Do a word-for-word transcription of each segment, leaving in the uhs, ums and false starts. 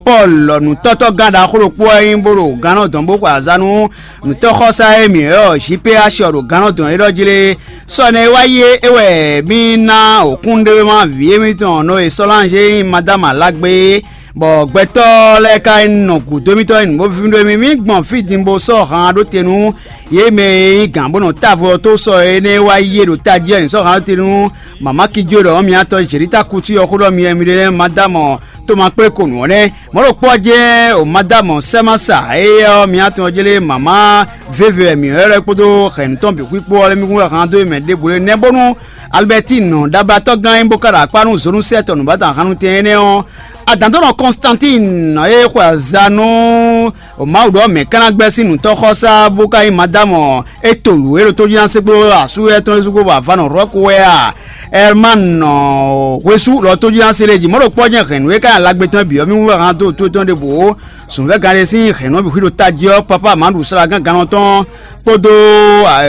Paul nǔtɔ́tɔ́gán ɖaxó ɖokpó wɛ nyí bó ɖo gannɔ dɔn bó xwe azǎn nú nǔtɔ́xɔsá e mǐ ylɔ́ J P H ɔ́ ɖo gannɔ dɔn élɔ́ jí lé. Sɔ énɛ́ e wá yi é wɛ mì ná wǒkúnɖéwéma vǐ émítɔn nɔ e Sɔ́lanzé nyí Madámu Alágbe é, bɔ gbɛtɔ́ lɛ́ɛ ka nɔ gǔdo émítɔn nyi nǔ bó víví ɖó émí. Mì gbɔn fí din bó sɔ́ han ɖó te nú yě mɛ e nyí gǎn bó nɔ távo ɔ́ tó sɔ énɛ́ e wá yi é ɖo tají ɔ́, nǐ sɔ́ han ɖó te nú mama Kijo ɖɔ mǐtɔn Jelita Kutu ɔ́ xó ɖɔ mi wɛ mi ɖe lɛ́ɛ Madámu Toma kplé ko nǔ ɔ́ nɛ́. Mɔ̌ ɖokpó ɔ́ jɛ́n o Madámu Sɛ́masa éyɛ́ ɔ́, mǐtɔn ɔ́ jlé mama véve wɛ mǐ ylɔ́ kpódó hɛ̌nnu tɔn bǐ xwíkpó ɔ́ lɛ́ɛ mì kún wɛ han dó mɛ ɖěbǔ lé nɛ́ bónú Alibɛtín ɖablatɔ́gán e bó ka ɖo akpá nú Zonúsɛ́ tɔn nǔbátɔn ahannutɛn énɛ́ ɔ́, adǎndɔ́nɔ Kɔnstantín e xwe aza nú Mawu ɖɔ mɛ̌ ka ná gbɛ́ sín nǔtɔ́xɔsá bó ka nyí Madámu Etolu e ɖo tójínasé kpó asú étɔn lɛ́ɛ sú kpó bɔ avanɔ Rɔ́ku wɛ a? Ɛlmanɔ hwesú lɔ tójínasé lɛ́ɛ jí mɔ̌ ɖo kpɔ́ jɛ́n hɛ̌nnu e ka nyí alagbe tɔn bǐ ɔ́ mì wú wɛ han dó tó tɔn ɖěbǔ ó. Zɔ̌nvɛ́gán ɖé sín hɛ̌nnu ɔ́ bǐ xwí ɖo tají ɔ́, pápá Madu Salagan gannɔ tɔn kpódó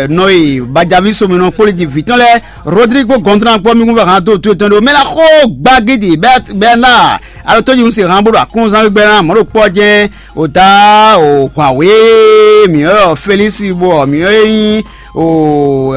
nɔ e Bajaví Sominɔ kpó lí jí vǐ tɔn lɛ́ɛ, Rodrigo Gɔndran kpó mì kún vɛ han dó tú etɔn ɖó mɛ la xó gbagidi bɛna alo tó jí un se han bó ɖo akúnzán gbígbɛ ná mɔ̌ ɖo kpɔ́ jɛ́n o ta o hwǎwé mǐ ɔ́ Felísi bɔ mǐ ɔ́ e nyí o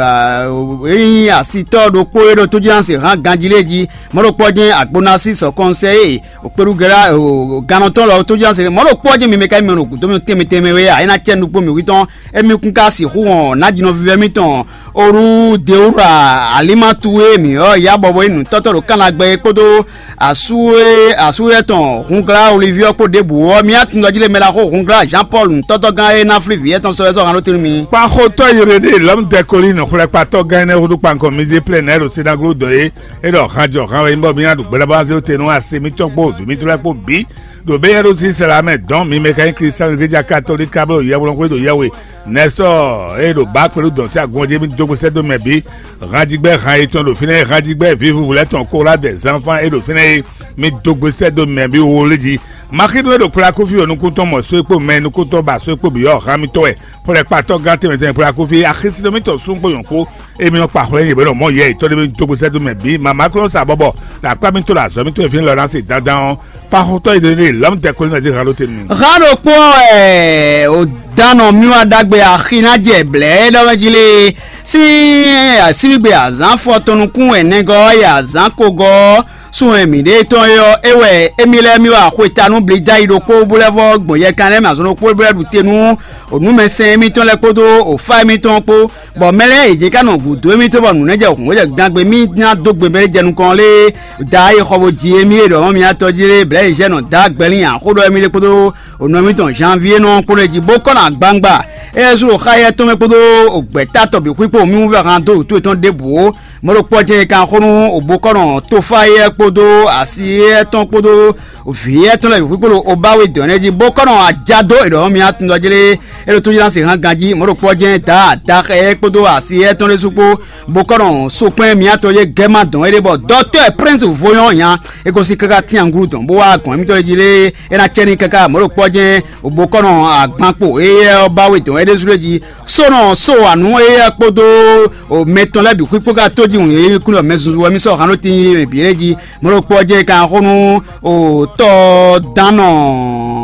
e nyí asitɔ́ ɖokpó e ɖo tó jí ná se han ganjí lé jí mɔ̌ ɖo kpɔ́ jɛ́n Agbonasi sɔkɔnsɛ e o kpeɖugɛlá o gannɔtɔ́ lɔ tó jí ná se mɔ̌ ɖo kpɔ́ jɛ́n mi mɛ ka nyí mɛ ɖo gǔdo mì tɛnmɛ tɛnmɛ wé a é ná cɛ nukpó mǐ hwítɔn émí kún ka sixú wɔn nǎjínɔ vívɛ́ mitɔn Oru Deura Alimatu e mǐ ɔ́ ya bɔ bɔ nyí nǔtɔ́tɔ́ ɖo Kánlagbɛ é kpódó asú e asú étɔn Hunglá Oliví ɔ́ kpó ɖěbǔ ɔ́, mì atundɔjí lé mɛ ɖaxó Hunglá Jean Paul nǔtɔ́tɔ́gán e ná flí vǐ étɔn sɔ́ wɛ sɔ́ han ɖó te nú mi. Kpaxotɔ́ Irené lɔ̌mdɛkolín xwlɛ́kpatɔ́gán énɛ́ húzú kpankɔ Mizéplɛ́nɛ ɖo Sinaglo dɔn é, é ɖɔ hanjɔ han wɛ nyí bɔ mì ná ɖu gbɛɖabáwá zé tɛn nú asi mitɔn kpó vǐ mitɔn lɛ́ɛ kpó bǐ, ɖo bé yɛ́ ɖo sísɛ́ lɛ́ɛ mɛ dɔn mi mɛ ka nyí Klísu Eklezia Katolíka bó ɖo yɛhweɖɔxwé ɖo yɛhwe. Nɛ̌ sɔ́ é ɖo bǎ kpɛɖú dɔn sín agun ɔ́ jí mì dó gbe sɛ́ dó mɛ bǐ. Hanjigbɛ han yětɔn ɖo fínɛ́, hanjigbɛ vǐvúvú lɛ́ɛ tɔn kó wlá dɛ zánfán é ɖo fínɛ́ é, mi dó gbe sɛ́ dó mɛ bǐ wlí jí. Maxínu e ɖo kplá kúfí ɔ́ nukún tɔn mɔ só e kpó mɛ nukún tɔn ba só e kpó bǐ ɔ́ han mitɔn wɛ. Xwlɛkpatɔ́gán tɛnmɛ tɛnmɛ kplá kúfí axisínɔ mitɔn sún kpó nyɔ̌ kpó, émí nɔ kpa xwlɛ nyɛ bɛ ɖɔ mɔ̌ yɛ yětɔn ɖé dó gbe sɛ́ dó mɛ bǐ. Mama klɔ́ sa bɔbɔ ɖo akpá mitɔn ɖo azɔ̌ mitɔn e fínɛ́ lɔ ná se dandan ɔ́, kpaxotɔ́ e ɖe lɔ̌mtɛ́ kpɛ́ nú ɛzé han ɖó te nú mi. Hán ɖokpó wɛ ò dán nɔ mì wá ɖagbe axi ná jɛ blɛ̌ é ɖɔ mɛ jí lé. Sín asíbígbe azǎn fɔ tɔn nukún wɛ nɛgɔ́ ɔ́ yi azǎn kogɔ́ ɔ́, sun wɛ mǐ ɖe tɔn é ɔ́, é wɛ émí lɛ́ɛ mì wá xwetanu blí dó ayi ɖokpó bó lɛ́ vɔ́ gbɔn yɛkan lɛ́ɛ mɛ azɔn ɖokpó bó lɛ́ ɖu te nú onúmɛsɛn émítɔn lɛ́ɛ kpódó ofá émítɔn kpó, bɔ mɛ lɛ́ɛ yě jɛ ká nɔ gǔdo émítɔn bɔ nǔ nɛ́ jɛ hǔn jɛ gangbe mì ná dó gbe mɛ jɛ nukɔn lé. Da e xɔ bo ji émí e ɖɔ mì atɔ jí lé blɛ̌ yi zɛ nɔ da gbɛlín axó ɖɔ émí lé kpódó onɔ émítɔn Janvier nɔ kpó lɛ́ jí bó kɔ nɔ agbangba. É sú ɖo xá yɛ tɔn mɛ kpódó ògbɛ́ta tɔn bǐ xwíkpó mì wú vɛ han dó wǔtu yětɔn ɖěbǔ ó. Mɔ̌ ɖokpó ɔ́ jɛ́n è kan xó nú òbokɔ́nɔ Tofáyɛ́ kpódó Asiyɛ́ tɔn kpódó vǐ étɔn lɛ́ɛ bǐ kpódó Obáwe dɔ̌n lɛ́ɛ jí, bó kɔ́ nɔ ajá dó è ɖɔ mì atundɔjlé é ɖo tójínásí hán ganjí. Mɔ̌ ɖokpó ɔ́ jɛ́n dǎ adaxɛ kpódó Asiyɛ́ tɔn ɖésú kpó, bó kɔ́ nɔ sokpɛ́n mǐtɔn e gɛ́ má dɔn é ɖe bɔ dɔtɔ́ Prɛ́nsi Voyɔ́n nya é gosín káká tínyaŋgúlu dɔn bó wá gɔ̌n émítɔn lɛ́ɛ jí lé é ná cɛ n'i káká. Mɔ̌ ɖokpó ɔ́ jɛ́n òbokɔ́nɔ agbankpo éyɛ́ ɔ́ bá we dɔn é ɖésú lɛ́ɛ jí. Sónɔ só wa nǔ éyɛ́ kpódó mɛ tɔn lɛ́ɛ bǐ xwíxwí ka tó jí wǔn yě kún ɖɔ mɛ zunzun wɛ mì sɔ́ han ɖó tin yi mɛ bǐ lɛ́ɛ jí. Mɔ̌ ɖokpó ɔ́ jɛ ka xó nú tɔ́dannɔ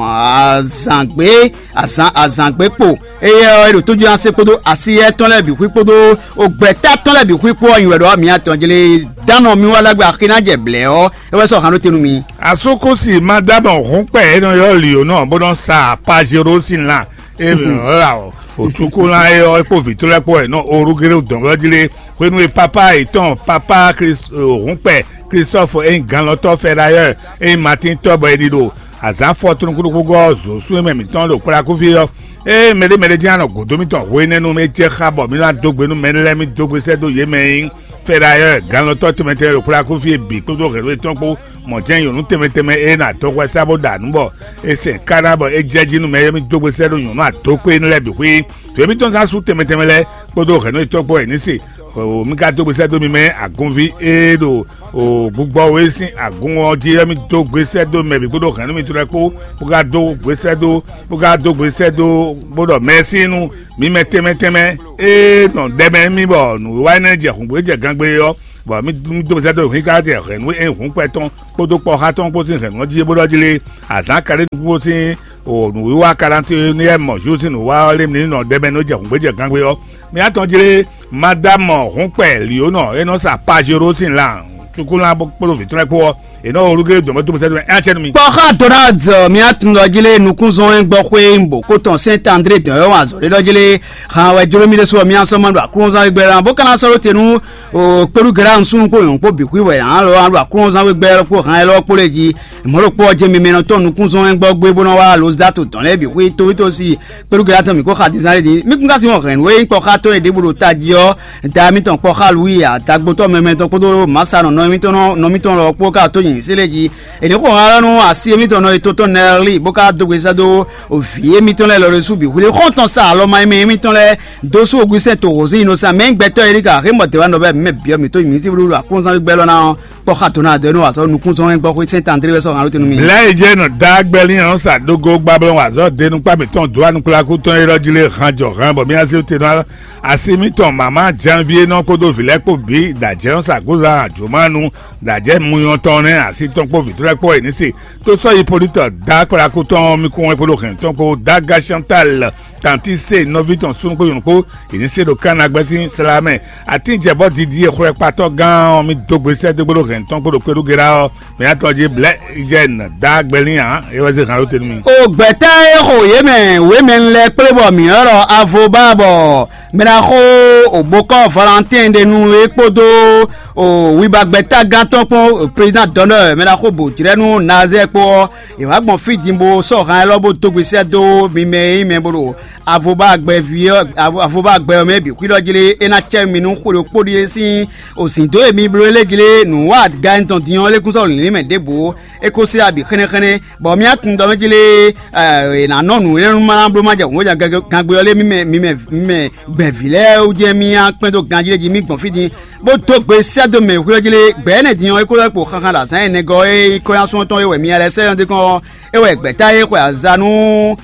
azǎngbé azǎn azǎngbé kpo éyɛ́ ɔ́, é ɖo tójú ase kpódó asiyɛ tɔn lɛ́ɛ bǐ xwí kpódó gbɛ̌ta tɔn lɛ́ɛ bǐ xwí kpó ɔ́ nyi wɛ ɖɔ mǐ atɔn jlé dannɔ mi wá lágbá axi ná jɛ blɛ̌ ɔ́, é wɛ sɔ́ han ɖó te nú mi. Asúkúsi Madámɔ hǔnkpɛ e nɔ ylɔ́ Liyonɔ bó nɔ́ sa Pajero sín lan e la ɔ́, òcúkúlán é ɔ́ kpó vǐ tɔn lɛ́ɛ kpó wɛ nɔ Orugélo dɔ̌n jí lé. Hwenu e papá yětɔn, papá hǔnkpɛ Klistɔ́fu e nyí ganlɔ́tɔ́ Fɛdayɔ́ɔ e nyí Matín tɔ́ bɔ è ɖi ɖo azǎn fɔtúnukúɖukúgɔ́ ɔ́ zǒ sú e mɛ mǐtɔn ɖo kplá kúfí ɔ́, ée mɛɖé mɛɖé jɛ́n nɔ gǔdo mitɔn hwenɛ́nu, é jɛ xá bɔ mǐ ná dó gbe nú mɛ lɛ́ɛ mì dó gbe sɛ́ dó yě mɛ e nyí Fɛdayɔ́ɔ, ganlɔ́tɔ́ tɛnmɛ tɛnmɛ ɖo kplá kúfí e bǐ kpódó hɛ̌nnu yětɔn kpó, mɔ jɛ́n nyɔ̌nu tɛnmɛ tɛnmɛ e nɔ adɔxwɛ sá bó ɖo anǔ bɔ è sɛn káná bɔ é jɛ jí nú mɛ e mì dó gbe sɛ́ ɖó nyɔ̌nu adókpé énɛ́ lɛ́ɛ bǐ xwí. Vǐ mitɔn zán sú tɛnmɛ tɛnmɛ lɛ́ɛ kpódó hɛ̌nnu yětɔn kpó wɛ ní se. Mi ka dó gbe sɛ́ dó mi mɛ agunví e ɖo gbigbɔ we sín agun ɔ́ jí ɔ́, mì dó gbe sɛ́ dó mɛ bǐ kpódó hɛ̌nnu mitɔn lɛ́ɛ kpó, bó ka dó gbe sɛ́ dó bó ka dó gbe sɛ́ dó bó ɖɔ mɛ̌si nú mi mɛ tɛnmɛ tɛnmɛ e nɔ ɖɛ mɛ mì bɔ nǔwiwa énɛ́ jɛ hǔngbó jɛ gangbé ɔ́, Bɔ mí dó mí dó sɛ́ dó hǐnká jɛ hɛ̌nnu e hǔn kpɛ tɔn kpódó kpɔ́xá tɔn kpó sín hɛ̌nnu ɔ́ jí é bó ɖɔ jí lé, azǎn ka ɖé nukúnxó sín nǔwiwa kalantín énɛ́ mɔ Júzi nǔwa ɔ́ lé mǐ ní nɔ ɖɛ mɛ nú jɛ hǔngbéjɛ gangbe ɔ́. Mǐ atɔn jí lé, Madámɔ hǔnkpɛ Liyonɔ e nɔ sa Pajero sín lan cukúlán kpódó vǐ tɔn lɛ́ɛ kpó ɔ́, è nɔ olúgélé dɔn mɛ dó mɛ sɛ́ dó mɛ é ná cɛ nú mi. Kpɔ́xá Donald, mía tun ɖɔ jí lé nukúnzɔn e gbɔ xwé bǒ kó tɔn Sɛ́nt André dɔn e wǎn azɔ̌ ɖé ɖɔ jí lé, han wɛ jló mì ɖésú ɔ́, mía sɔ́ ma ɖo aklúnɔzán gbɛ ná bó ka ná sɔ́ ɖó te nú kpéɖúgɛ́ súnnu kpó nyɔ̌nu kpó bǐ xwí wɛ ná lɔ ɖo aklúnɔzán gbɛ kpó han élɔ́ kpó lɛ́ɛ jí. Mɔ̌ ɖokpó ɔ́ jɛ́n mimɛ nɔ tɔn nukúnzɔn e gbɔ gbé bó nɔ wá Lozdátu dɔn lɛ́ɛ bǐ xwí tóvítósi kpéɖúgɛ́ tɔn mǐ kó xa dízán lé din. Mí kún ka sin wɔn hɛ̌nnu e nyí kpɔ́xá tɔn e ɖěbǔ ɖo tají ɔ́, da mitɔn kpɔ́xá Luwi, adagbotɔ́ mɛmɛ tɔn kpódó Masa nɔ nɔ émítɔn nɔ émítɔn lɔ kpó ka tó nyi sélé jí. È nǐ xo han ɔ́ nú asi émítɔn nɔ e tó tɔn Nɛɛli bó ka dó gbe sɛ́ dó vǐ émítɔn lɛ́ɛ lɔ ɖésú bǐ hwlé xɔ́ntɔn sa alɔ ma mɛ émítɔn lɛ́ɛ dó sú Ogusɛ́n to hǒzín nɔ sa mɛ nyí gbɛtɔ́ e ɖi ka xé mɔ dɛ̌ wá nɔ bɛ́ mɛ byɔ́ mǐ tó nyi mǐ sí blúblú aklúnɔzán gbígbɛ́ lɔ ná ɔ́, kpɔ́ xa dǒ ná dɔ́ nú azɔ̌ nukúnzɔ́n wɛn gbɔ xwé sɛ́n tandré wɛ sɔ́ han ɖó te nú mì. Lɛ̌ e jɛ nɔ dá gbɛlín ɔ́ sa dó gó gbá blɔ́ azɔ̌ denu kpá mǐtɔn dó anukplaku tɔn e ɖɔ jí lé han jɔ han bɔ mì asi te nɔ asi mítɔn mama janvier nɔ kpódó vǐ lɛ́ɛ kpó bǐ dǎjɛ́ ɔ́ sa gózá jǒmánu dǎjɛ́ muyɔn tɔn nɛ́ asi tɔn kpó vǐ tɔn lɛ́ɛ kpó e ní se tó sɔ́ Hipólítɔ dá kplaku tɔn mì kún wɛn kpódó hɛn tɔn kpó dá Gachantal tanti se nɔví tɔn súnnu kpó nyɔ̌nu kpó e ní se ɖo Kana gbɛ́ sín sla mɛ. Atín jɛ bɔ didi e xwlɛkpatɔ́ gán ɔ́ mì dó gbe sɛ́ dó gbódó hɛn tɔn kpódó kpéɖú Gera ɔ́, mɛ atɔn jí blɛ́ jɛ nɔ dá gbɛlín ǎ, é wɛ zé han ɖó te nú mì. O gbɛ̌tá e xo yě mɛ wěmɛnu lɛ́ɛ kplé bɔ mǐ ɔ́ ɖɔ Avoba bɔ mɛ ná xo òbokɔ́ Valentín ɖe nú é kpódó o wibagbɛ́tágán tɔn kpɔ́n président d'honneur mɛ ná xo bǒ jlɛ́ nú Nazɛ́ kpó ɔ́, è wǎ gbɔn fí din bó sɔ́ han élɔ́ bó dó gbe sɛ́ dó mi mɛ e nyí mɛ bó ɖo Avoba gbɛví ɔ́, Avoba gbɛ ɔ́ mɛ bǐ xwíɖɔ jlé é ná cɛ mi nú xwe ɖokpó ɖíe sín òsǐn dó e mi bló é lé jlé nǔ wa gan tɔn din ɔ́ lé kún sɔ́ lǐnlín mɛ ɖěbǔ é kó slá bǐ xɛ́nɛ́xɛ́nɛ́, bɔ mì atun dɔ mɛ jlé è nǎ nɔ nǔ énɛ́ nú ma ná bló ma jɛ hǔn bó jɛ gangbe ɔ́ lé mì mɛ mì mɛ mì mɛ gbɛ̌ví lɛ́ɛ wú jɛ́n mì akpɛ́n dó ganjí lé jí mì gbɔn fí din bó dó gbe sɛ́ dó mɛ xwlɛ́ jlé gbɛ̌ énɛ́ din ɔ́ é kó lɛ́ kpo xaxa ɖo azǎn énɛ́ gɔ́ e nyí kɔ́nyásun tɔn é wɛ mi lɛ́ sɛ́ ɔ́ dé kɔn ɔ́, é wɛ gbɛ̌ta e xwe azǎn nú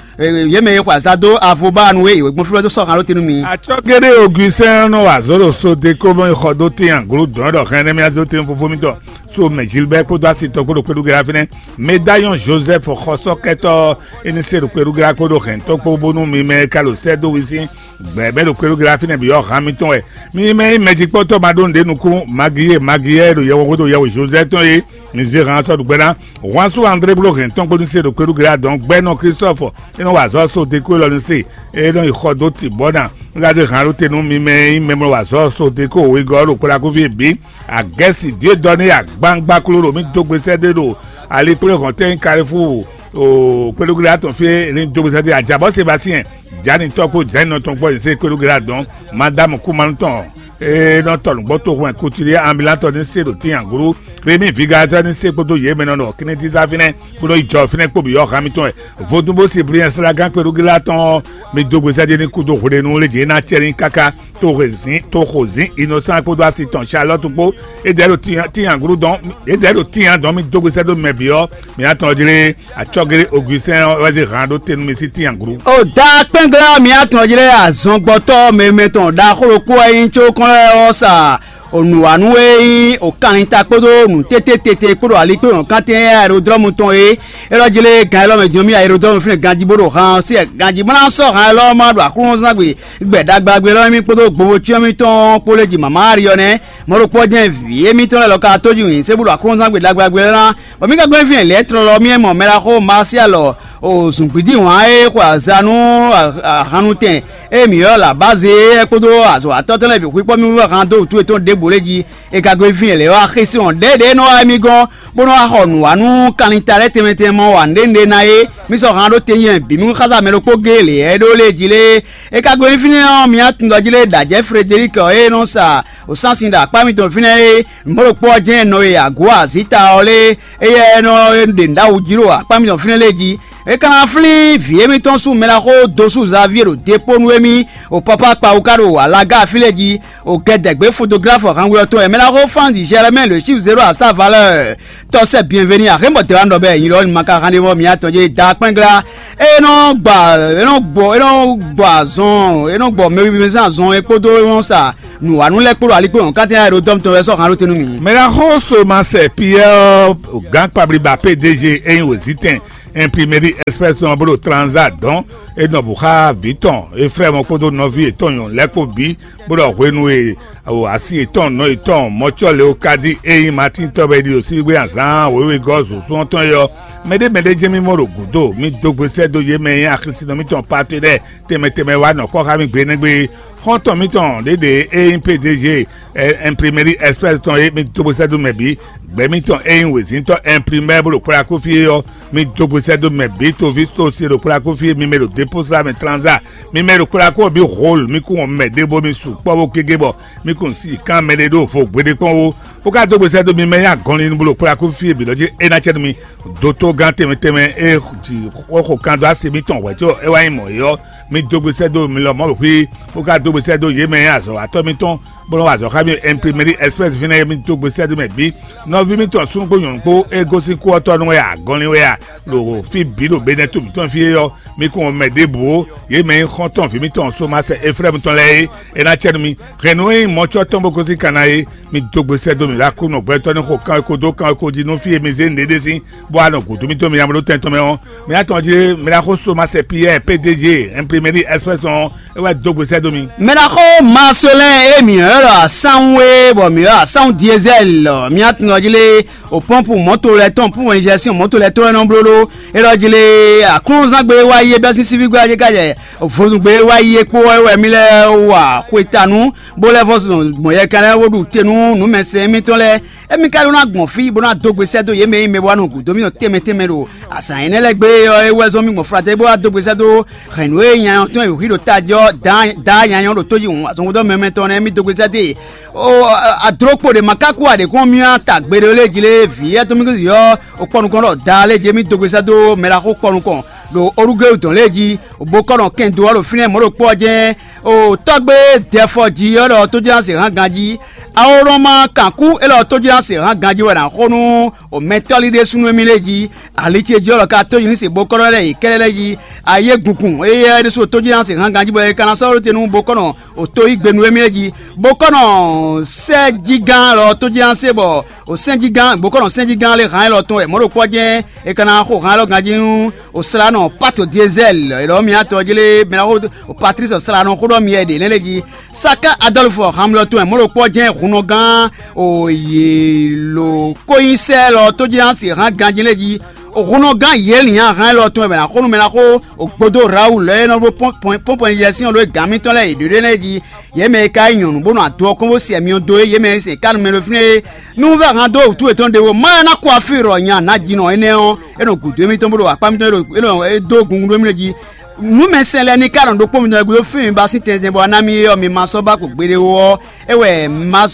yě mɛ e xwe azǎn dó Avobanu é yě gbɔn fí wɛ dó sɔ́ han ɖó te nú mi. Acɔ́géɖé Ogusɛ́n nɔ wa azɔ̌ ɖo Sodeko bɔ xɔ dó tín aglǔ dɔn ɖɔ hɛn nɛ́ mì azé tɛn fofó mitɔn so mɛ Gilbert kpódó asi tɔn kpódó kpéɖúgɛ́ fínɛ́. Medayɔn Joseph xɔsɔ́kɛtɔ́ é ní se ɖo kpéɖúgɛ́ kpódó hɛn tɔn kpó bónú mi mɛ ka ɖo sɛ́ dó wi sín gbɛ̌ bɛ́ ɖo kpéɖúgɛ́ fínɛ́ bǐ ɔ́ han mitɔn wɛ. Mi mɛ nyí mɛjikpɔ́tɔ́ ma ɖó nǔɖé nukún Magiyé Magiyé ɖo yɛhwehundo yɛhwe Joseph tɔn é. Mi zé han sɔ́ ɖo gbɛ ná. Wǎn sú André bló hɛn tɔn kpó ní se ɖo kpéɖúgɛ́ dɔn gbɛ́nɔ Christophe é nɔ wa azɔ̌ so deko élɔ́ ní se é nɔ yi xɔ dó tibɔ́ ná. Un ka zé han ɖó te nú mi mɛ e nyí mɛ mlɔ wa azɔ̌ so deko wegɔ́ ɔ́ ɖo kplakúví bǐ. Agɛ́si Diedɔ́ ní agbangba kló ɖo mì dó gbe sɛ́ ɖé ɖo ali kplé hɔn tɛ́n nyí Kalifúu o kpéɖúgɛ́ tɔn fí é ní dó gbe sɛ́ ɖé ajabɔ́ Sebastien Jani tɔn kpó Jani nɔ tɔn kpó yě se kpéɖúgɛ́ dɔn Madamu Kumanu tɔn e nɔ tɔ nǔgbó toxo wɛn kutuli ambulantɔ ní se ɖo tín aglú Remi Vigalatɔ ní se kpódó yě mɛ nɔ nɔ Kinitisa fínɛ́ kpódó yi jɔ fínɛ́ kpó bǐ yɔ́ hán mitɔn wɛ. Vodún bó si Briɛn Slágán kpéɖúgɛ́ tɔn ɔ́, mi dó gbe sɛ́ ɖé ní kúdó hwlenu lé jǐ é ná cɛ ní káká tó hwezǐn tó xozǐn Inocent kpódó asi tɔn Charlotte kpó é dɛ̌ ɖo tín aglú dɔn é dɛ̌ ɖo tín dɔn mì dó gbe sɛ́ dó mɛ bǐ ɔ́, mǐ ná tɔn jlé Acɔ́géɖé Augustin ɔ́ wɛ zé han ɖó te nú mi sí tín aglú. O da kpɛ́nglá mi atɔn jlé azɔngbɔtɔ́ mɛmɛ tɔn ɖaxó ɖokpó wɛ nyí có kɔn lɛ́ɛ ɔ́ sa onǔwanu e nyí okanlin ta kpódó nǔ tététété kpódó alikpéwɔn kantɛn aerodrɔ́mu tɔn é élɔ́ jlé gan élɔ́ mɛ din ɔ́ mì aerodrɔ́mu fínɛ́ ganjí bó ɖo han ɔ́ sí wɛ ganjí bó ná sɔ́ han élɔ́ ɔ́ má ɖo aklúnɔzán gbe gbɛ ɖagba gbe élɔ́ mì kpódó gbowócyɔ́mítɔn kpó lé ji mama Ariɔnɛ mɔ̌ ɖokpó jɛ́n vǐ émítɔn lɛ́ɛ lɔ ka tó ji wǐn sé bó ɖo aklúnɔzán gbe ɖagba gbe élɔ́ ná bɔ mì ka gɔ́ fí lɛ̌ tlɔlɔ mì e mɔ mɛ ɖaxó Masialɔ o zǔngbídí wǎn e xwe azǎn nú ahannutɛn e mǐ ylɔ́ Labáze é kpódó azɔ̌watɔ́ tɔn lɛ́ɛ bǐ xwíkpɔ́ mì wú han dó wǔtu yětɔn ɖěbǔ lɛ́ɛ jí. È ka gɔ́ fí lɛ̌ wá xísí hɔn ɖěɖě nɔ wá émí gɔ́n bó nɔ́ wá xɔ nǔwanú kanlin ta lɛ́ɛ tɛnmɛ tɛnmɛ mɔ wǎ nɖé nɖé ná é. Mì sɔ́ han ɖó te nyɛ bǐ mì xázá mɛ ɖokpó géé lě ɛ ɖó lé jí lé. É ka gɔ́ fínɛ́ ɔ́, mi atundɔjí lé ɖǎjɛ́ Frederic ɔ́ e nɔ sa wǒsánsin ɖo akpá mitɔn fínɛ́ é, mɔ̌ ɖokpó ɔ́ jɛ́n nɔ e agǒ azǐta ɔ́ lé, éyɛ́ nɔ ɖe nǔ ɖo awu jí ɖo akpá mitɔn fínɛ́ lé jí. É ka ná flín vǐ émítɔn sú mɛ ná xó dó sú Xavier ɖo depó nú émí, o pápá kpawú ka ɖo alaga fí lé jí, o kɛdɛgbé fotográfɔ hanwe ɔ́ tɔn wɛ mɛ ná xó Franz Germain le chiffre zéro à sa valeur. Tɔ́ sɛ bienveni axémɔ tɛ wá nɔ bɛ nyí lɔ ma ka han ɖe mɔ mi atɔn jɛ da kpɛngla. E nɔ gba e nɔ gbɔ e nɔ gbɔ azɔn e nɔ gbɔ mɛ wiwi zan azɔn e kpódó e nɔ sa nǔwanú lɛ́ɛ kpódó aligbó nyɔ̌kántɛn ayɛɖodɔ́mú tɔn wɛ sɔ́ han ɖó te nú mì. Mɛ ná xó so ma sɛ Piyɛ́ɛ ɔ́, gǎn kpablíba P D G e nyí wězítɛn Imprimerie Express tɔn bó ɖo Tranza dɔn, é nɔ bǔ xá vǐ tɔn Eflɛ́mu kpódó nɔví yětɔn nyɔ̌nu lɛ́ɛ kpó bǐ, bó ɖɔ hwenu e asi yětɔn nɔ yětɔn mɔ̌cɔ́ Leokadi e nyí Matín tɔ́ wɛ é ɖi ɖo sívígbé azǎn wěwegɔ́ zǒsún ɔ́ tɔn é ɔ́, mɛɖé mɛɖé jɛ́n mì mɔ ɖo gǔdo, mì dó gbe sɛ́ dó yě mɛ e nyí axisínɔ mǐtɔn Patedɛ́ɛ tɛnmɛ tɛnmɛ wá nɔ kɔ́ xá mì gbe énɛ́ gbe. Xɔ́ntɔn mǐtɔn ɖěɖě e nyí P D G Imprimerie Express tɔn é, mi dó gbe sɛ́ dó mɛ bǐ. Gbɛ̌ mǐtɔn e nyí wězíntɔ́ imprimɛ́ bó ɖo kplá kó fí é ɔ́, mi dó gbe sɛ́ dó mɛ bǐ. Toví to se ɖo kplá kó fí é, mi mɛ ɖo dépozá mɛ tranzá, mi mɛ ɖo kplá kó bǐ hol, mi kún wɔn mɛ ɖěvo, mi sukpɔ́ bó gégé bɔ mi kún si kán mɛɖé ɖó vo gbeɖé kpɔ́n ó. Bó ka dó gbe sɛ́ dó mi mɛ nyí agɔnlin bó ɖo kplá kó fí é bǐ lɔ jí é ná cɛ nú mi. Dotogán tɛnmɛ tɛnmɛ e ji xó xo kan dó asi mitɔn hwɛ̌ có é wá nyí mɔ̌ é ɔ́, mi dó gbe sɛ́ dó mi lɔmɔ̌ xwí, bó ka dó gbe sɛ́ dó yě mɛ e azɔ̌watɔ́ mitɔn bó nɔ́ wa azɔ̌ xá mì Imprimerie Express fínɛ́ é, mi dó gbe sɛ́ dó mɛ bǐ. Nɔví mitɔn súnnu kpó nyɔ̌nu kpó e gosín kú ɔ́ tɔ́ nú wɛ ǎ, gɔnlin wɛ ǎ, ɖo fí bǐ ɖo Benɛ́to mǐtɔn fí é ɔ́, mi kún wɔn mɛ ɖěbǔ ó. Yě mɛ e nyí xɔ́ntɔn vǐ mitɔn Somasɛ Eflɛ́mu tɔn lɛ́ɛ é, é ná cɛ nú mi. Hɛ̌nnu e nyí mɔ̌cɔ́ tɔn bó gosín Kana é, mi dó gbe sɛ́ dó mì ɖo Aklúnɔ gbɛtɔ́ ní xo kanwekó dó kanwekó jí nú fí e mi zé nǔɖé ɖe sín, bó wá nɔ gǔdo mì dó mi nya bó ɖó tɛn tɔn mɛ ɔ́, mi ná tɔn jí mɛ ná xó Somasɛ Piyɛ́ɛ P D G Imprimerie Express ɔ́, é wɛ dó gbe sɛ́ dó mi. Mɛ ná xó Marcelin e mǐ ylɔ́ ɖɔ asánwú é, bɔ mǐ ylɔ́ asánwú Diesɛ́l ɔ́, mi ná tunwun jí lé, o pɔ́npu mɔ̌to lɛ́ɛ tɔn, pɔ́npu injɛsíɔn mɔ̌to lɛ́ɛ tɔn wɛ nɔ bló ɖó. É ɖɔ jí lé, aklúnúzán gbe wá yi é bɛ́ sín síví gbé ɔ́ jí ká jɛ vodún gbe wá yi é kpó wɛ wɛ mì lɛ́ɛ wa xwetanú, bó lɛ́ vɔ́ gbɔn yɛkan lɛ́ɛ bó ɖu te nú nǔmɛsɛn émítɔn lɛ́ɛ. Émí ka ɖó ná gbɔn fí bó ná dó gbe sɛ́ dó yě mɛ e nyí mɛ bó wá nɔ gǔdo mì tɔn tɛnmɛ tɛnmɛ ɖo azǎn énɛ́ lɛ́ɛ gbe é ɔ́, é wɛ zɔ́n mì gbɔn Flatɛ́ bó wá dó gbe sɛ́ dó hɛ̌nnu e nya nyanya tɔn e wǔ xí ɖo tají ɔ́, dǎ nyanya ɔ́ ɖo tó jí hǔn azɔnxódɔ́ mɛmɛ tɔn nɛ́ mì dó gbe sɛ́ dó e. Adló kpo ɖě ma ka kú ǎ ɖě kɔn mì wá ta gbe ɖé lé jí lé vǐ yɛ́ tɔn mì ɔ́, o kpɔ nukɔn ɖɔ daa lé jí émí dó gbe sɛ́ dó mɛ ɖaxó kpɔ nukɔn ɖo Orugléwu dɔn lé jí, bó kɔ nɔ kɛn dó ɔ́ ɖo fínɛ́ mɔ̌ ɖokpó ɔ́ jɛ́n. O tɔ́gbé Dɛfɔji ɔ́ ɖɔ tójínásě hán ganjí. Awɔnɔma kankú élɔ́ tójínásě hán ganjí wɛ ná xo nú o mɛtɔ́lí ɖésúnú émí lɛ́ɛ jí. Ali ce jí ɔ́ ɖɔ ka tójínásě bó kɔ́ nɔ lɛ́ yě kɛ́ɖɛ́ lɛ́ɛ jí. Ayé gungun éyɛ́ ɖésú tójínásě hán ganjí bɔ é ka ná sɔ́ ɖó te nú bó kɔ́ nɔ o tó yí gbe nú émí lɛ́ɛ jí. Bó kɔ́ nɔ sɛ́ jí gán lɔ tójínásě bɔ o sɛ́njígán bó kɔ́ nɔ sɛ́njígán lé hán élɔ́ tɔn wɛ mɔ̌ ɖokpó ɔ́ jɛ́n è ka ná xo hán élɔ́ ganjí nú o slá nɔ Pato Diesɛl, è ɖɔ mì atɔ jí lé mɛ ná xo o Patlísi slá nɔ xó ɖɔ mì wɛ ɖě nɛ́ lé jí. Saka Adɔlfu Hamlɔtɔn wɛ mɔ̌ ɖokpó ɔ́ jɛ́n hun nɔ gán o yě lo kónyísɛ lɔ tó jí ná se hán ganjí lé jí. O hun nɔ gán yě lǐn ahan élɔ́ tɔn wɛ mɛ ná xó nú mɛ ná xó o gbódó Rawulu lɛ́ɛ e nɔ ɖó pɔ́npɔn yɛsín ɔ́ ɖó gǎn mitɔn lɛ́ɛ yě ɖó ɖé nɛ́ jí. Yě mɛ e ka nyí nyɔ̌nu bó nɔ ado ɔ́ kɔn bó se myɔ dó é, yě mɛ e se ká nú mɛ ɖo fínɛ́ é. Nú vɛ́ han dó wǔtu yětɔn ɖé ó, má ná kó afí ɖɔ nya nǎjínɔ énɛ́ ɔ́, é nɔ gǔdo émítɔn bó ɖo akpá mitɔn é ɖo é dó gungun ɖó émí jí. Nǔmɛsɛn lɛ́ɛ ní ká nɔ ɖokpó mitɔn gúdo fí mi ba sín tɛntin bɔ ná mi é ɔ́, mi ma sɔ́ ba ko gbeɖé ó ɔ́, é wɛ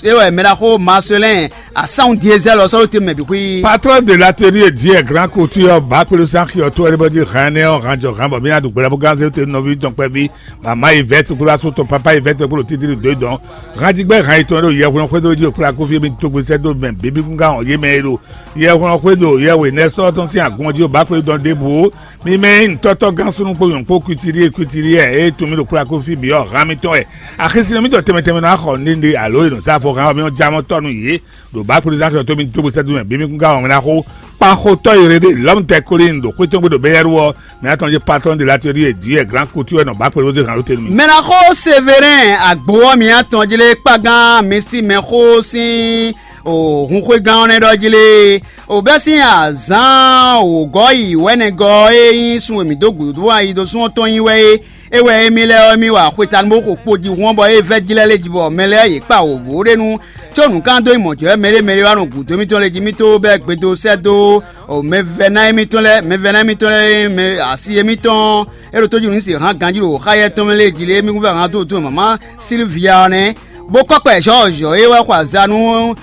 é wɛ mɛ ɖaxó Marcelin asánwú Diezɛ́l ɔ́ sɔ́ ɖó te mɛ bǐ xwí. Patron de l'atelier Dieu grand couture ba kpéɖó sín axi ɔ́ tó wɛ ɖé bɔ jí hɛn énɛ́ ɔ́, hán jɔ hán bɔ mí ná ɖu gbɛɖá bó gán zé te nɔví tɔn kpɛví. Mama yi vɛ́ tukúlú asú tɔn papa yi vɛ́ tukúlú títí ɖo dɔn. Hánjígbɛ́ hán yětɔn e ɖo yɛhwlɛ́n xwedó jí ɖo kplá kófí mi dó gbe sɛ́ dó mɛ bǐbí gúngán hɔn yě mɛ e ɖo yɛhwlɛ́n xwedó yɛhwe nɛ́sɔ́ tɔn sín agun ɔ́ jí ɖo bǎ kpéɖó dɔn ɖěbǔ ó. Mi mɛ nyí nǔtɔ́tɔ́ gán súnnu kpó nyɔ̌nu kpó kwítíɖíe kwítíɖíe e tunwun mì ɖo kplá kófí bǐ ɔ́, hán mitɔn wɛ. Axisínɔ mitɔn tɛnmɛ tɛnmɛ ná xɔ nǔɖé nǔɖé alo e nɔ zá afɔ hán ɔ́, mi nɔ já mɔ tɔ́ nú yě. Ɖo bǎ kplɔ́nzán xyɔ́tɔn mi dó gbe sɛ́ dó mɛ bǐ mi kún ka wɔn mɛ ná xó. Kpaxotɔ́ e ɖe lɔ̌mtɛkolín ɖo xwé tɔn gbe ɖo Bɛ́yɛ́ru ɔ́, mɛ atɔn jí patɔ́n de l'atelier Dieu grand couture wɛ nɔ bǎ kpɛɖé wezé hǎn ɖó te nú mi. Mɛ ná xó Severin agbo ɔ́ mi atɔn jí lé kpágán mi sí mɛ xó sín o hunxwégán ɔ́ nɛ́ ɖɔ jí lé. O bɛ́ sín azǎn wǒgɔ́ yi wɛ̌nɛgɔ́ e nyí sun e mǐ dó gǔdo ayi dó sún ɔ́ tɔn nyi wɛ é. É wɛ émí lɛ́ɛ ɔ́, émí wa xwetanú bó xo kpo jihún ɔ́, bɔ é vɛ́ jí lɛ́ɛ lé jí, bɔ mɛ lɛ́ɛ yě kpa wǒ wǒ ɖé nu, có nǔkanndónyimɔ̌jɛ́wɛ mɛɖé mɛɖé wá nɔ gǔdo émítɔn lɛ́ɛ jí. Mì tó bɛ́ gbedo sɛ́ dó mɛvɛ́ná émítɔn lɛ́ɛ, mɛvɛ́ná émítɔn lɛ́ɛ e mɛ asi émítɔn e ɖo tójúnǔ se hán ganjí ɖo xáyɛ́ tɔn mɛ lɛ́ɛ jí lé, émí kún vɛ́ hán dó dó mama Silvia ɔ́ nɛ́, bó kɔ́ kpɛ Jɔ́ɔ̌jɔ́ e wɛ xɔ azǎn nú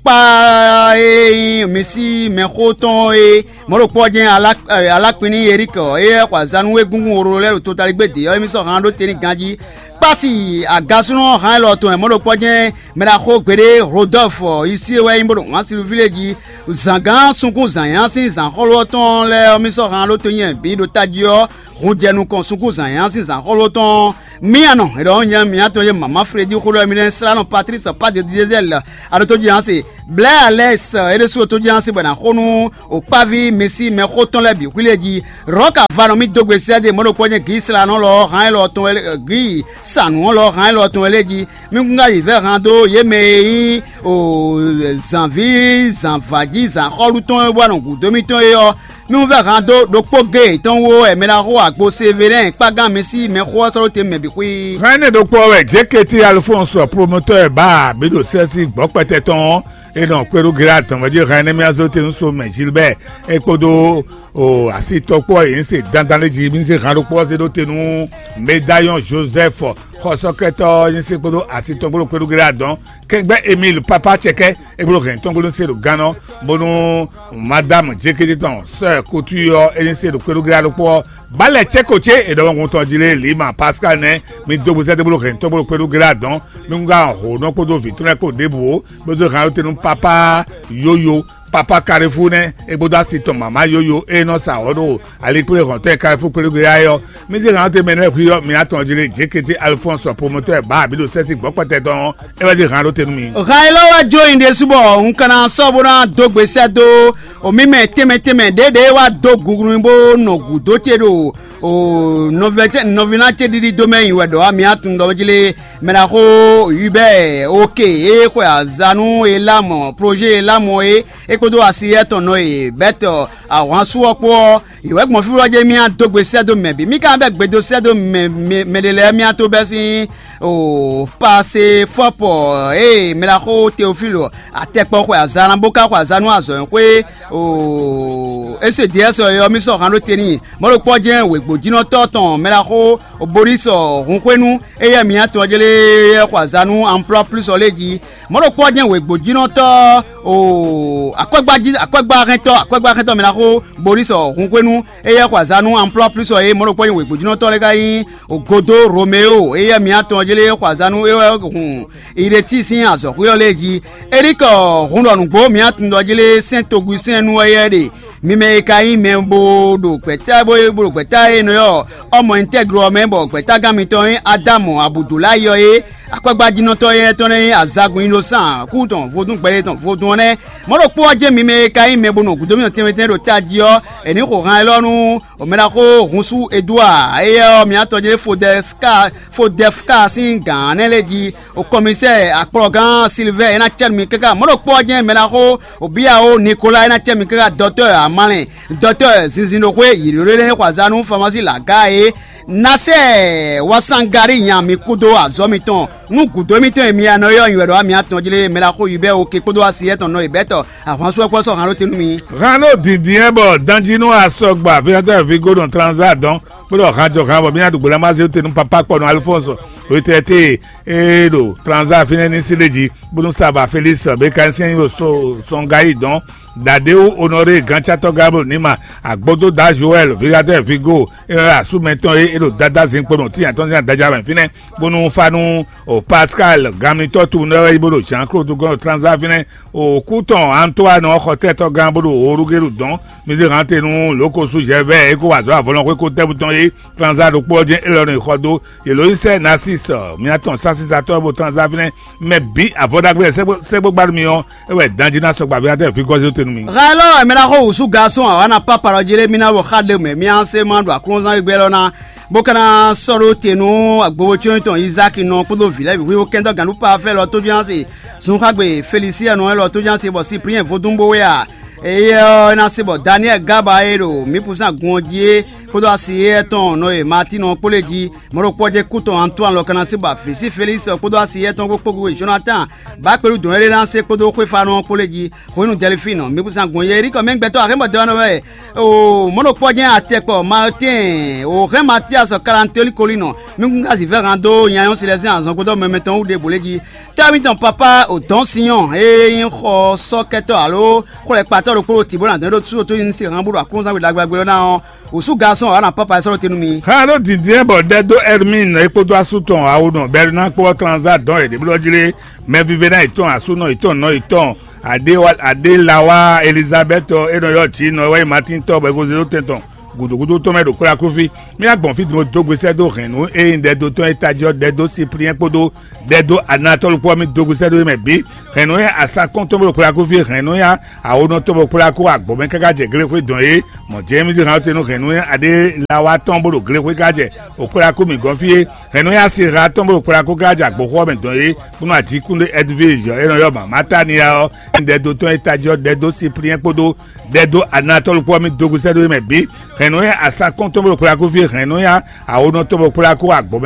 kpá e nyí mi sí mɛxó tɔn é. Mɔ̌ ɖokpó ɔ́ jɛ́n Alákpinní Erikɔ e xɔ azǎn nú égúngún wlolo lɛ́ɛ ɖo totaligbé dě ɔ́, émí sɔ́ han ɖó te n'i ganjí. Pasi agasúnɔ hán élɔ́ tɔn e mɔ̌ ɖokpɔ́ jɛ́n mɛ ɖaxó gbeɖé Rodolphe Isie wɛ nyí bó ɖo wǎn Silvíle jí. Zǎngán sunkún zǎnyá sín zǎnxɔ́lú ɔ́ tɔn lɛ́ɛ ɔ́, mì sɔ́ hán ɖó tonyi bǐ ɖo tají ɔ́, hun jɛ nukɔn sunkún zǎnyá sín zǎnxɔ́lú tɔn. Mía nɔ è ɖɔ nyɛ mǐtɔn e mama Freddy xó ɖɔ mi nɛ́ slá nɔ Patrice Padedizɛzɛl aɖótó jí hán se. Blɛ̌ Alɛs é ɖésú ɖo tó jí hán se bɔ è nǎ xo nú òkpáví Mesí mɛxó tɔn lɛ́ɛ bǐ xwílí e jí. Rɔ̌ka va nɔ mì dó gbe sɛ́ ɖe mɔ̌ ɖokpɔ́ jɛ́n Gǐ slá nɔ lɔ hán élɔ́ tɔn Gǐ sanu ɔ́ lɔ hán élɔ́ tɔn lɛ́ɛ jí. Mì kún ká yi vɛ̌ han dó yě mɛ e nyí o zǎnví zǎnvǎjí zǎnxɔ́lú tɔn e wa nɔ gǔdo mitɔn é ɔ́. Mì wún vɛ́ han dó ɖokpó géé tɔn wú wɛ mɛ ná xo agbo Sevelɛ́n kpágán mi sí mɛxó ɔ́ sɔ́ ɖó te mɛ bǐ xwí. Hɛn énɛ́ ɖokpó ɔ́ wɛ Jeketi Alfɔ́nsɔ promotɔ́ e bǎ bǐ ɖo sɛ́sí gbɔ̌kpɛtɛ tɔn ɔ́, è nɔ kpé ɖó Gilad tɔn mɛ jí hɛn énɛ́ mì azó te nú so mɛ Gilbɛ́ɛ é kpódó o asitɔkpó e nyí se dandan lé jí mì zé han ɖokpó ɔ́ zé ɖó te nú Medayɔn Jozɛ́f xɔsɔ́kɛtɔ́ ɔ́ nyí se kpódó asitɔkpó ɖo kpé ɖó Gilad dɔn. Kɛngbɛ́ Emil Papa Cɛkɛ é bló hɛn tɔn gbló se ɖo gán ɔ́, bónú Madame Jekete tɔn sɔ́ ɛ kútú ɔ́, é ní se ɖo kpéɖóglá ɖokpó ɔ́, bǎ lɛ cɛ́ ko cé è ɖɔ wɛngun tɔn jí lé Lima Pascal nɛ́, mi dó gbezɛ́ dó bló hɛn tɔn bló kpéɖóglá dɔn, mi wún gán hǒnɔ kpódó vǐ tɔn lɛ́ɛ kpó ɖěbǔ ó, bó zó hɛn tɛ́nú pápá yóyó, pápá Kalifú nɛ́, é kpódó asi tɔn mǎmá yóyó e nɔ sa wɔ̌ ɖo alikplé hɔntɛn Kalifú kpéɖóglá é ɔ́. Mi zé hɛn tɛ́nmɛ nɛ́ hwi ɔ́, mi atɔn jí lé Jekete Alphonse promotɔ́ e bǎ abǐ ɖo sɛ́sí gbɔ̌kpɛtɛ tɔn ɔ́, é wá zé han ɖó te nú mi. Han élɔ́ wá jó nyi ɖésú bɔ un ka ná sɔ́ bó ná dó gbe sɛ́ dó o mì mɛ tɛnmɛ tɛnmɛ ɖěɖě wá dó gungun bó nɔ gǔdo ce ɖo o nɔví ná ce ɖiɖi dó mɛ nyi wɛ ɖɔ wá mi atun ɖɔ jí lé mɛ ná xó Hubert oke e xwe azǎn nú Elamɔ projet Elamɔ é é kpódó asi étɔn nɔ e Bɛ́tɔ ahwansu ɔ́ kpó ɔ́, yě wɛ gbɔn fí wɛ jɛ mì adó gbe sɛ́ dó mɛ bǐ. Mì ka bɛ́ gbe dó sɛ́ dó mɛ mɛ mɛ ɖé lɛ́ɛ mì ato bɛ́ sín o Pasefɔ́pɔ ée mɛ ɖaxó Teofílu atɛkpɔ xwe azǎn ná bó ka xwe azǎn nú azɔ̌ e xwé o Esediɛ́sɔ é ɔ́, mì sɔ́ han ɖó te n'i. Mɔ̌ ɖokpó ɔ́ jɛ́n wěgbójínɔtɔ́ tɔn mɛ ɖaxó Borísɔ hun xwé nú éyɛ́ mǐ atɔn jlé é xwe azǎn nú Amplɔ́ Plus ɔ́ lě jí. Mɔ̌ ɖokpó ɔ́ jɛ́n wěgbójínɔtɔ́ o akwɛ́gbájí akwɛ́gbáhɛntɔ́ akwɛ́gbáhɛntɔ́ mɛ ɖaxó Borísɔ hun xwé nú éyɛ́ xwe azǎn nú Amplɔ́ Plus ɔ́ é. Mɔ̌ ɖokpó ɔ́ jɛ́n wěgbójínɔtɔ́ lɛ́ɛ ka nyí Godo Romeo éyɛ́ mǐ atɔn ɔ́ jlé xwe azǎn nú é wɛ hun Iɖetí sín azɔ̌xwé ɔ́ lɛ́ɛ jí. Erikɔ hun ɖɔ nǔgbó mǐ atun ɖɔ jlé sɛ́n togun sɛ́n nú wɛ yɛ ɖe. Mi mɛ e ka nyí mɛ bó ɖo gbɛ̌ta bó ɖo gbɛ̌ta e nɔ ɔ́ ɔmɔ intɛ́glo ɔ́ mɛ bɔ gbɛ̌tágán mitɔn nyí Adámu Abudulayi ɔ́ é. Akwɛ́gbájínɔtɔ́ éyɛ́ tɔn lɛ́ɛ nyí azagun nyi ɖó sán kú tɔn vodún gbɛɖe tɔn vodún ɔ́ nɛ́. Mɔ̌ ɖokpó ɔ́ jɛ́n mi mɛ e ka nyí mɛ bó nɔ gǔdo mitɔn tɛnmɛ tɛnmɛ ɖo tají ɔ́, è nǐ xo han élɔ́ nú Mɛ ɖaxó hunsu Edouard éyɛ́ ɔ́, mǐ atɔn jlé Fodɛska Fodɛfka sín gǎn nɛ́ lɛ́ɛ jí, o kɔmisɛ́ɛ akplɔ́gán Silvɛ́ɛ é ná cɛ́ nú mi káká. Mɔ̌ ɖokpó ɔ́ jɛ́n mɛ ɖaxó Obiyawo Nikolaa é ná cɛ́ nú mi káká dɔtɔ́ Amalɛn, dɔtɔ́ zinzin ɖo xwé yǐɖóɖó énɛ́ xɔ azǎn nú Famasí Lagaa é. Nasɛ́ɛ Wasangari nya mi kúdó azɔ̌ mitɔn nú gǔdo émítɔn e mi anɔ ylɔ́ nyi wɛ ɖɔ wá mi atɔn jlé mɛ ɖaxó Hubɛ́ɛ Oke kpódó asi étɔn nɔ e bɛ̌tɔ ahwansu ɔ́ kpó sɔ́ han ɖó te nú mi. Han ɖó dǐndín ɛ bɔ danjínú asɔgba Vénatɛ́ Vigo ɖo Tranza dɔn, bó ɖɔ han jɔ han bɔ mí ná ɖu gbe ná má zé te nú papá kpɔnu Alphonse Retraité e ɖo Tranza fínɛ́ ní sí ɖé jí, bónú Sava Félix Bécanicien ɖo Sɔngayi dɔn, Dadewu Honoré Gancatɔ Gabriel Nima, Agbodo Da Joël Vigadɛ Vigo e wɛ asú mɛtɔn e é ɖo Dada zinkpo ɖo tínya tɔn sín adaja mɛ fínɛ́, bónú fá nú o Pascal Gamitɔ tunwunɔ wɛ yi bó ɖo Jean Claude gɔ́n ɖo Tranza fínɛ́. O kú tɔn Antoine ɔ́ xɔ tɛ́tɔ́gán bó ɖo Orugelu dɔn, mi zé hǎn te nú Lǒkosu Zɛvɛ́ɛ e ko wa azɔ̌ avɔlɔnxwé ko tɛ́bú tɔn é. Tranza ɖokpó ɔ́ jɛ́n élɔ́ nɔ yi xɔ dó. Yě ló yi sɛ́ Nasis mía tɔn sásísatɔ́ bó Tranza fínɛ́ mɛ bǐ avɔ ɖagbe sɛ́gbó gbá nú mi ɔ́, é wɛ danjí ná sɔgba ví atɛ vǐ gɔ́zé te nú mi. Hɛn élɔ́ wɛ mi ná xo wǔsú gasɔn awǎ ná pápá ɖɔ jí lé mi ná ɖo xa ɖe mɛ mí á se ma ɖo aklúnɔzán gbé élɔ́ ná bó ka ná sɔ́ ɖó te nú agbowócɔ́nyi tɔn Izáki nɔ kpódó vǐ lɛ́ɛ bǐ xwíxó kɛntɔ́ gǎn nú Pafɛ́ lɔ tójúnásì Zunxágbe Felisiɛnu élɔ́ tójúnásì bɔ Sipliɛn vodún bó wɛ a? Éyɛ́ ɔ́, é ná se bɔ Daniɛ́li Gaba e ɖo mǐ pǔsán gun ɔ́ jí é kpódó asi éyɛ́ tɔn nɔ e Matín ɔ́ kpó lɛ́ɛ jí. Mɔ̌ ɖokpó ɔ́ jɛ́n kú tɔn Antoine lɔ ka ná se bɔ avǐ sí Felísi ɔ́ kpódó asi éyɛ́ tɔn kpó kpógú Jonatán bá kpéɖu dɔn éɖée ná se kpódó xwéfánɔ ɔ́ kpó lɛ́ɛ jí. Hwenu Dɛlifín ɔ, mǐ kún zán gun yɛ Erikɔ mɛ gbɛtɔ́ axémɔ dɔn wɛ. O mɔ̌ ɖokpó ɔ́ jɛ́n atɛkpɔ Maltɛ́n o hɛn Matias Kalantoli Kolinɔ mí kún ka zǐvɛ́ han dó nyanyɔ́ Silɛzɛ́n azɔngbótɔ́ mɛmɛ tɔn wú ɖěbǔ lɛ́ɛ jí. Tɛ́ mitɔn papá o dɔ̌n Sinyɔ́ɔ e nyí xɔ sɔ́kɛtɔ́ alo xwlɛkpatɔ́ ɖokpó ɖo tǐ bó ná dɔn é ɖó sú ɖo tó nyi sí han bó ɖo aklúnɔzán we ɖagbe ɔ́ ná ɔ́, wǔsú ga sɔn wana papa sɔrɔ tenu mi. Hã ɖó dǐndín bɔ ɖɛ dó Hermine é kpódó asú tɔn awo nɔ Bernard kpó Transat dɔn yě ɖěblɔ́ jlé mɛvívɛ́ná yětɔn asúnɔ yětɔn nɔ yětɔn Adélawa Elizabeth é nɔ ylɔ́ jǐ nɔ wɛ nyí Martin tɔn bɔ é ko zé dó tɛn tɔn gǔdúgúdú tɔn mɛ ɖo kplákúfí. Mì wá gbɔn fí din bó dó gbe sɛ́ dó hɛ̌nnu e nyí ɖɛdó tɔn e tají ɔ́, ɖɛdó Cyprien kpódó ɖɛdó Anatɔ́lu kpó ɔ́, mì dó gbe sɛ́ dó yě mɛ bǐ. Hɛ̌nnu e asakɔ́n tɔn bó ɖo kplákúfí, hɛ̌nnu e awonɔ tɔn bó ɖo kplákú agbɔ̌ mɛ káká jɛ glexwé dɔn é, mɔ Jɛ́mízi hán tenu hɛ̌nnu e aɖé lawa tɔn bó ɖo glexwé ká jɛ òkplákú mǐ gɔ́n fí é. Hɛ̌nnu e asi ha tɔn bó ɖo kplákú ká jɛ agbǒxɔ mɛ dɔn é, bónú ajíkúnɖé Ɛdvíz ɔ́, é nɔ ylɔ́ mɔ Amátánia ɔ́, ɖɛdó tɔn e tají ɔ́, ɖɛdó Cyprien kpódó ɖɛdó Anatɔ́lu kpó ɔ́, mì dó gbe sɛ́ dó yě mɛ bǐ. Hɛ̌nnu e asakɔ́n tɔn bó ɖo kplákú fí, hɛ̌nnu e awonɔ tɔn bó ɖo kplákú agbɔ̌ mɛ